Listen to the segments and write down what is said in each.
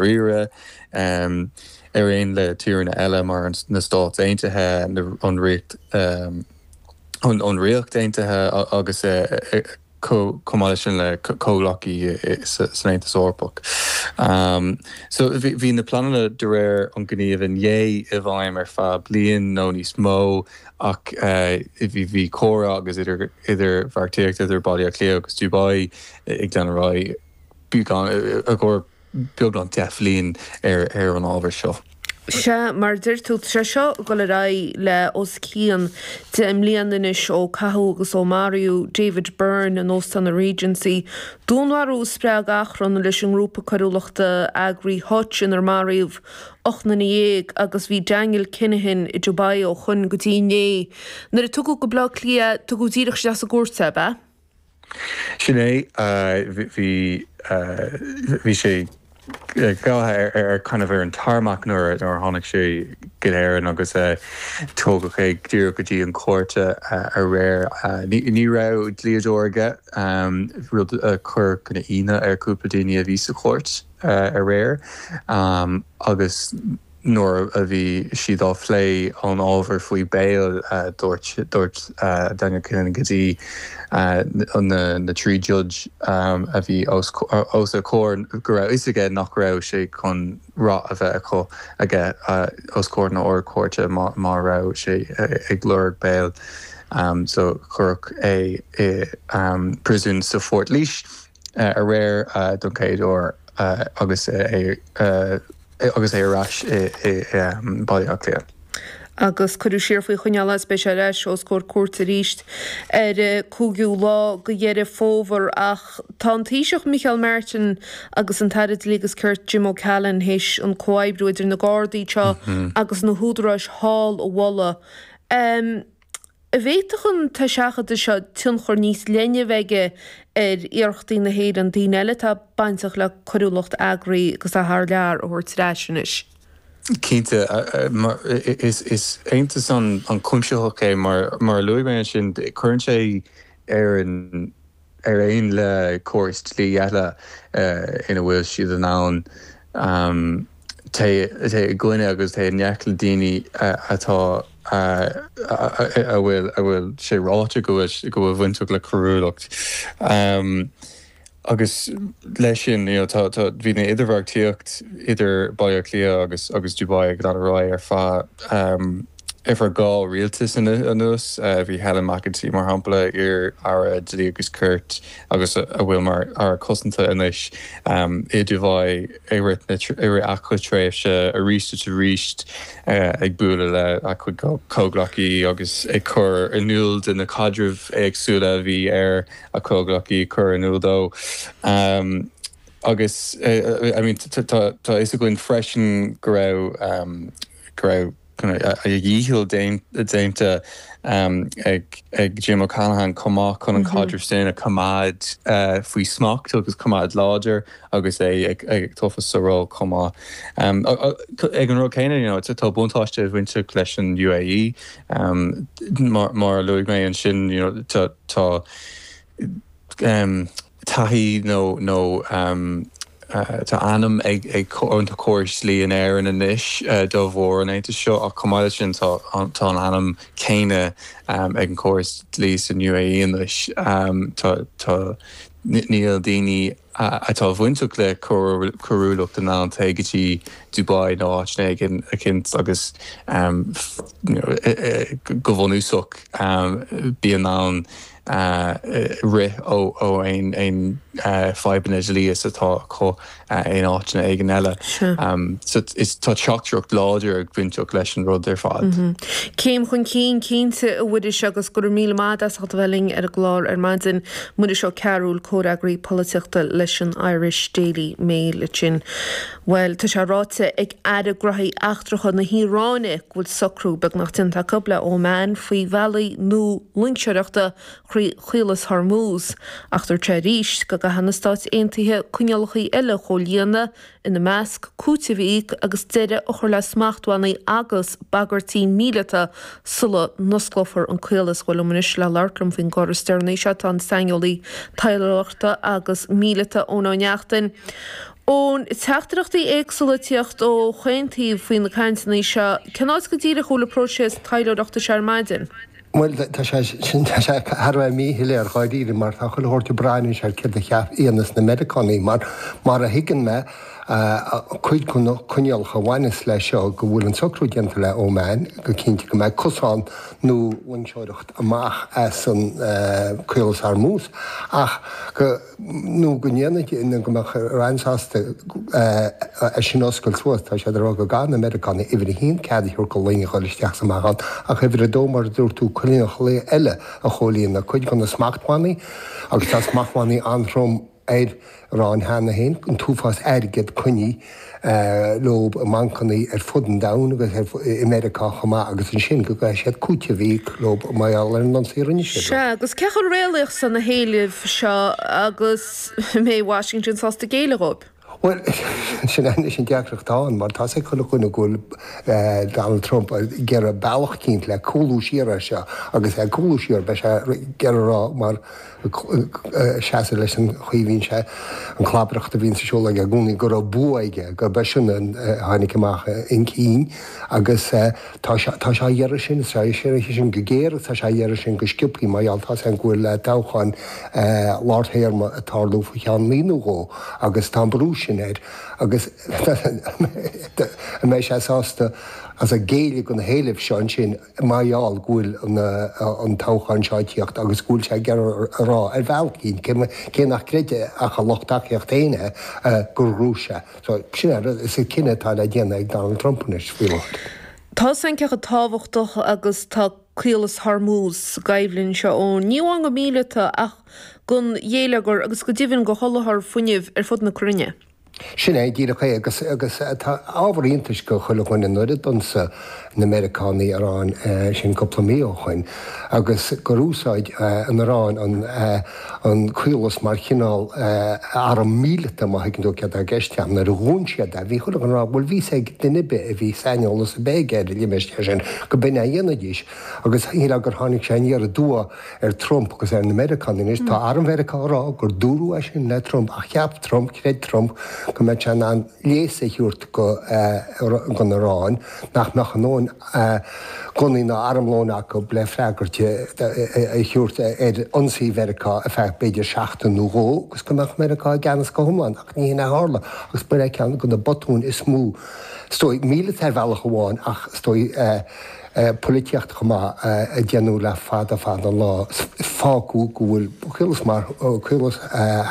ndáiríre, ar aon le tíreanna eile mar na Stáit Aontaithe, an Ríocht an Ríocht Aontaithe agus chomh maith leis sin le comhghleacaithe san Aontas Eorpach. So bhí na pleananna de réir an ghníomh inné i bhfeidhm ar feadh bliain nó níos mó ach bhí comhrá agus idirbheartaíocht idir Baile Átha Cliath agus Dubai ag dul ar aghaidh beagán i gcomhair beagnach 10 bhliain ar an ábhar seo. Sea, mar a deir tú, tá sé seo ag dul ar aghaidh le os cionn 10 mbliana anois ó caitheadh agus ó maraíodh David Byrne in Óstán an Regency. Dúnmharú a spreag achrann leis an ngrúpa coiriúlachta eagraithe Hutch inar maraíodh 18 nduine agus bhí Daniel Kinahan i Dubai ó shoin go dtí inné. Nuair a tugadh go Baile Átha Cliath é, tugadh díreach isteach sa gcúirt é, ab ea? Sin é, bhí, bhí sé gabhtha ar kind of ar an tarmac nuair a tháinig sé go hÉirinn agus tógadh é díreach go dtí an chúirt aréir. Ní raibh dlíodóir aige, rud a chuir kind of ionadh ar cúpla daoine a bhí sa chúirt aréir agus Nuair a bhí siad á phlé an ábhar faoi bail, dúirt dúirt Daniel Kinahan go dtí na 3 judge a bhí os os a chomhair go raibh fhios aige nach raibh sé chun rath a bheith acu aige os comhair na Ard-Chúirte má má raibh sé ag lorg bail. So cuireadh é i príosún sa Phort Laoise aréir don chéad uair agus é agus é ar ais i mBaile Átha Cliath. Agus cuireadh siar faoi choinneáil é is beidh sé ar ais os comhair cúirte arís ar an 5ú lá de Dheireadh Fómhair. Ach tá an Taoiseach Micheál Martin agus an tAire Dlí agus Cirt Jim O'Callaghan théis an comhoibriú idir na Gardaí anseo agus na húdaráis thall a mholadh. An bhféadfadh an t-eiseachadadh seo tionchar níos leithne a bheith aige ar iarrachtaí na hÉireann daoine eile atá bainteach le coiriúlacht eagraithe agus atá thar lear a thabhairt ar ais anois? Cinnte. Is aontas an-chuimsitheach é mar a luaigh mé ansin. Cuireann sé Éirinn ar aon le córais dlí eile ina bhfuil siad in ann téigh i gcoinne agus téigh i ngleic le daoine atá a bhfuil a bhfuil sé ráite go bhfuil go bhfuil bainteach le coiriúlacht. Agus leis sin, you know, tá tá bhí na idirbheartaíocht idir Baile Átha Cliath agus agus Dubai ag dul ar aghaidh ar feadh ar feadh 2 rialtas anuas. Bhí Helen McEntee, mar shampla, iar-aire Dlí agus Cirt agus a bhfuil mar Aire Cosanta anois, i Dubai i rith na i rith a cuid tréimhse arís is arís ag bualadh le a cuid comhghleacaí agus ag cur in iúl de na caidrimh éagsúla a bhí ar a comhghleacaí cur in iúl dó. Agus I mean tá tá fhios againn freisin go raibh go raibh a dhícheall déanta ag ag Jim O'Callaghan chomh maith chun an caidreamh sin a choimeád faoi smacht agus coimeád láidir agus é ag tofa sa ról chomh maith. Ag an rud céanna you know tá buntáiste bainteach leis an UAE mar mar a luaigh mé ansin you know tá tá taithí nó nó tá ainm ag ag an córas dlí in Éirinn anois de bharr an aontais seo ach chomh maith leis sin tá tá an ainm céanna ag an córas dlí san UAE anois. Tá tá níl daoine atá bainteach le coiriúlacht in ann téigh go dtí Dubai nó áiteanna éigin eicínt agus go bunúsach bí in ann rith ó aon fadhbanna dlí is atá acu in áiteanna éigin eile. So tá teachtaireacht láidir ag bainteach leis an rud ar fad. Céim chun cinn cinnte, a Mhuiris, agus go raibh míle maith agat as ucht a bheith linn ar an gclár ar maidin. Muiris Ó Cearúil, comhfhreagraí polaitíochta leis an Irish Daily Mail ansin. Bhuel, tá sé ráite ag Aire Gnóthaí Eachtracha na hIaráine go bhfuil socrú beagnach déanta acu le Oman faoi bhealaí nua loingseoireachta thrí Chaolas Hormuz. Ach dúirt sé arís go gcaithfidh na Stáit Aontaithe coinníollacha eile a chomhlíonadh, ina measc, cúiteamh a íoc agus deireadh a chur le smachtbhannaí agus bagairtí míleata sula n-osclófar an caolas. Bhuel, liom anois le labhairt liom faoin gcor is deireanaí seo tá an saineolaí taidhleoireachta agus míleata Eoin Ó Neachtain. Ón teachtaireachtaí éagsúla ag tíocht ó chaon taobh faoi na cainteanna seo, cén áit go díreach a bhfuil an próiseas taidhleoireachta seo ar maidin? Bhuel, tá sé sin, tá sé thar a bheith míshoiléir dháiríre mar tá chuile shórt ag brath anois ar céard a dhéanfas na Meiriceánaigh mar, mar a thuigeann mé, cuid de na coinníollacha a bhaineas leis seo go bhfuil an socrú déanta le Oman go cinnte go mbeidh cosán nó loingseoireacht amach as an Caolas Hormuz ach go nó go ndéanfaidh, nó go mbeadh Iran sásta é sin a oscailt suas. Tá siad ag rá go gcaithfidh na Meiriceánaigh, uimhir a haon, cead a thabhairt do loing a dhul isteach is amach ann, ach uimhir a dó, mar a dúirt tú, coinníollacha eile a chomhlíonadh, cuid de na smachtbhannaí, agus tá smachtbhannaí an-trom ar Iran cheana féin, an t-uafás airgead coinnithe leo i mbancanna ar fud an domhain agus i Meiriceá chomh maith agus ansin go gcaithfidh siad cúiteamh a íoc leo mar gheall ar an ionsaí a rinne siad leo. Sea, agus cé chomh réalaíoch is atá na héilimh seo agus an mbeidh Washington sásta géilleadh dhóibh? Bhuel, sin anois an deacracht atá ann mar tá's ag chuile dhuine go bhfuil Donald Trump ag iarraidh bealach eicínt le cúlú siar as seo agus é ag cúlú siar beidh sé ag iarraidh a rá mar seasamh leis an chaoi a bhíonn sé, an chlabaireacht a bhíonns ar siúl aige i gcónaí, go raibh bua aige, gurb eisean a tháinig amach chun cinn agus tá sé, tá sé á iarraidh sin, tá sé á iarraidh sin go géar agus tá sé á iarraidh sin go sciobthaí mar gheall tá's againn go bhfuil toghchán lár téarma ag tarlú faoi cheann mí nó dhó agus tá an brú sin air agus an mbeidh sé sásta as a géilleadh do na héilimh seo ansin. mar gheall go bhfuil an toghchán seo ag tíocht agus go bhfuil sé ag iarraidh a rá ar bhealach eicínt, cé nach gcreideann ach a lucht tacaíochta féin é, gur ghnóthaigh sé. So, sin é an rud, is é cinneadh atá le déanamh ag Donald Trump anois faoi láthair. Tá a fhios againn cé chomh tábhachtach agus tá Caolas Hormuz sa gcoimhlint seo, Eoin, ní amháin go míleata ach don gheilleagar agus go deimhin do sholáthar fuinnimh ar fud na cruinne. Sin é díreach é agus agus tá ábhar iontais do chuile dhuine nuair a d'ionsaigh na Meiriceánaigh Iran sin cúpla mí ó shoin agus gur úsáid an Iaráin an an caolas mar chineál arm míleata má thuigeann tú céard atá i gceist agam. Nuair a dhún siad é bhí chuile dhuine ag rá bhuel bhí 'fhios ag duine ar bith a bhí saineolas ar bith aige ar an limistéar sin go b'in é a dhéanfaidís agus shílfeá gur tháinig sé aniar aduaidh ar Trump agus ar na Meiriceánaigh. Anois, tá arm Mheiriceá ag rá gur dúradh é sin le Trump ach cheap Trump, chreid Trump go mbeadh sé in ann léas a thabhairt don Iaráin nach mbeadh a ndóthain gunnaí ná armlóin acu le freagairt a thabhairt ar ionsaí Mheiriceá ar feadh b'fhéidir seachtain nó dhó agus go mbeadh Meiriceá i gceannas go hiomlán ach ní hin a tharla agus b'in é ceann de na botúin is mó is dóigh, míleata ar bhealach amháin ach is dóigh polaitíochta chomh maith a déanadh le fada fada an lá. Fágadh go bhfuil Caolas mar, Caolas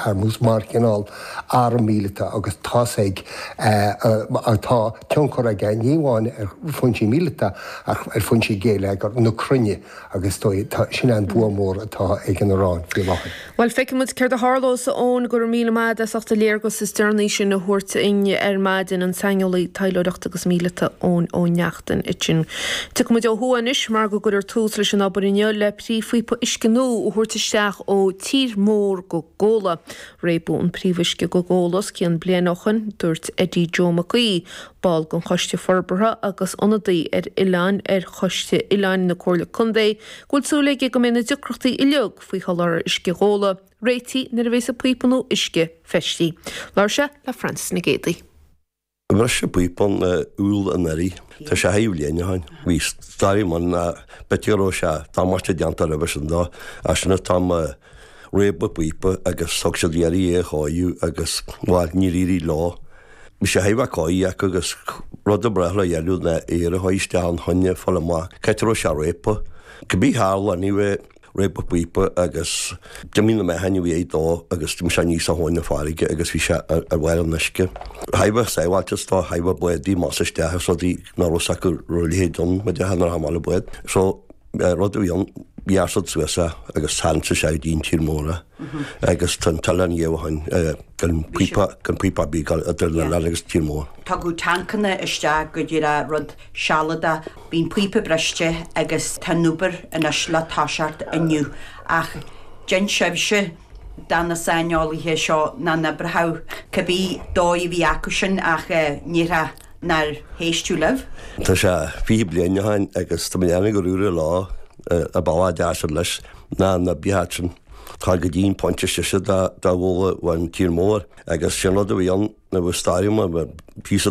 Hormuz mar chineál arm míleata agus tá's ag, tá tionchar aige ní amháin ar foinsí míleata ach ar foinsí geilleagar na cruinne. Agus is dóigh, tá, sin é an bua mór atá ag an Iaráin faoi láthair. Bhuel, feicfidh muid céard a tharlós, a Eoin, go raibh míle maith agat as ucht an léargas is deireanaí sin a thabhairt dúinn ar maidin, an saineolaí taidhleoireachta agus míleata Eoin Ó Neachtain ansin. Tiocfaidh muid ó thuaidh anois mar go gcuirfear tús leis an obair inniu le príomhphíopa uisce nua a thabhairt isteach ó Tír Mór go Gabhla. Réabadh an príomhuisce go Gabhla os cionn bliain ó shoin, dúirt Eddie Joe Mac Aoidh, ball den Choiste Forbartha agus ionadaí ar oileáin ar Choiste Oileáin na Comhairle Contae, go bhfuil súil aige go mbeidh na deacrachtaí uilig faoi sholáthar uisce Ghabhla réitithe nuair a bheas an píopa nua uisce feistithe. Labhair sé le Francis Nic Géadaigh. Bhris an píopa in Iúil anuraidh. Tá sé thar bhliain ó shin. Bhí stairí ann b'fhéidir go raibh sé damáiste déanta roimhe sin dó. As sin an t-am a réabadh an píopa agus thug siad iarraidh é a chóiriú agus, bhuel, níor éirigh leo. Bhí sé thar a bheith cóirithe acu agus rud ab ghnách le dhéanamh ná aer a chur isteach ann chun é a fháil amach cá háit a raibh sé réabtha. Cibé tharla anyway, réabadh an píopa agus d'imigh na meáchain a bhí ag dó agus d'imigh sé aníos a thóin na farraige agus bhí sé ar bharr an uisce. Thar a bheith sábháilte is dóigh, thar a bheith bádaí amach is isteach agus rudaí nach raibh 's acu raibh a leithéid ann, mar déarfá nuair a tháinig an bád. So rud a bhí ann, ghearr siad suas é agus tharraing siad isteach go dtí an tír mór é agus tá an t-oileán dhíobh ó shoin, gan píopa, gan píopa ar bith ag dul idir an oileán agus an tír mór. Tugadh tancanna isteach go díreach rud sealadach. Bhí an píopa briste agus tá an obair anois le toiseacht inniu. Ach dhein sibhse do na saineolaithe seo ná na oibrithe, cibé dóigh a bhí acu sin ach ní raibh nár héisteadh libh. Tá sé 20 bliain ó shin agus tá mé ag déanamh gur úr an lá a bealach deas leis ná na bitheach sin. Tá go dtí an pointe sise dá bhfuil an tír mór agus sin rud a bhí ann nuair a bhí stairiúil mar píosa.